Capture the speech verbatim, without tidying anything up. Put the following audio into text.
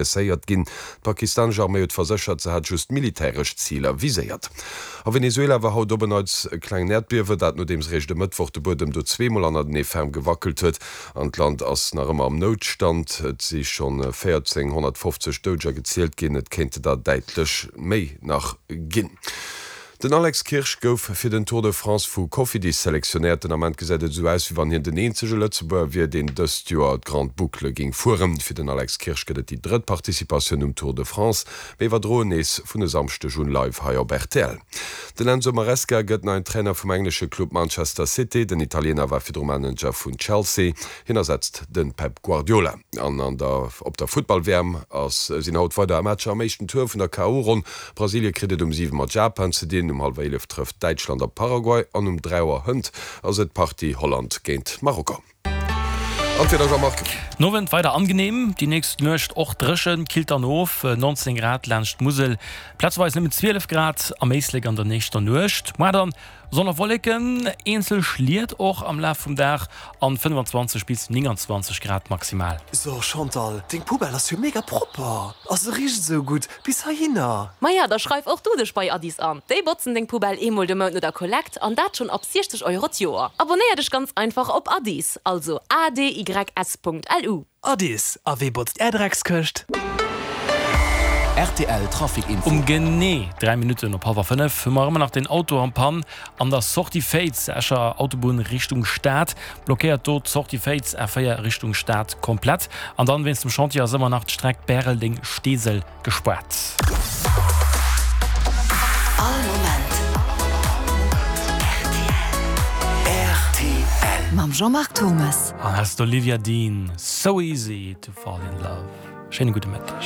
Blesséiert ginn. D'pakistanesch Arméi huet verséchert, se hätt just militäresch Ziler viséiert. A Venezuela war haut op en Neits e klengen Äerdbiewen, dat nodeems eréischt e Mëttwoch de Buedem do zweemol hannertenee ferm gewackelt huet. An d'Land ass nach ëmmer am Noutstand. Et si schonn véierzénghonnertfofzeg Doudeger gezielt ginn, et kéinte der däitlech méi nach ginn. Den Alex Kirsch gouf fir den Tour de France vu Cofidis selektionéiert. Den Ament gesäit et esou aus, wéi wann hien den eenzege Lëtzebuerger wier, deen dëst Joer d'Grande Boucle géing fueren. Fir den Alex Kirsch gëtt et déi drëtt Participatioun um Tour de France. Mir iwwerdroen nees vun e Samschdeg un live hei op rtl. Den Enzo Maresca gëtt neien Trainer vum englesche Club Manchester City. Den Italiener war virdru Manager vun Chelsea. Hien ersetzt de Pep Guardiola. An an der op der Futtball-W M ass sinn haut weider Matcher am éischten Tour vun der K O. Ronn. Brasilie kritt et um siwe mat Japan ze dinn, um hallwer eelef trëfft Däitschland op Paraguay an um dräi Auer hënt ass et d'Partie Holland géint Marokko. An d'Wieder, Jean-Marc. Nowend weider angenehm, déi nächst Nuecht och dréchen, killt dann of, neunzehn Grad laanscht d'Musel, plazeweis nëmmen zwielef Grad am Éislek an der nächster Nuecht. Muer dann Sonn a Wolleken, eenzel Schliet och am Laf vum Dag an fënnefenzwanzeg bis nénganzwanzeg Grad maximal. So Chantal, deng Poubelle ass jo mega propper a se richt esou gutt bis heihinner. Maja, da schreif och du dech bei Adys an. Déi botzen deng Poubelle eemol de Mount no der Kollekt an dat schonn ab siechzeg Euro d'Joer. Abonéier dech ganz einfach op Adys, also A D Y S Punkt L U. Adys, a wee botzt är Dreckskëscht? R T L Trafic Info. Um genee dräi Minutten op hallwer fënnef hu mer ëmmer nach den Auto en Panne an der Sortie Féiz, Escher Autobunn Richtung Stad. Blockéiert do d'Sortie Féiz, A véier Richtung Stad komplett. An dann wéinst dem Chantier ass ëmmer nach d'Streck Bäreldeng-Steesel gespaart. All Moment R T L. Mam Jean-Marc Thomas. An hei ass d'Olivia Dean, So Easy to Fall in Love. Schéine gudde Mëtteg.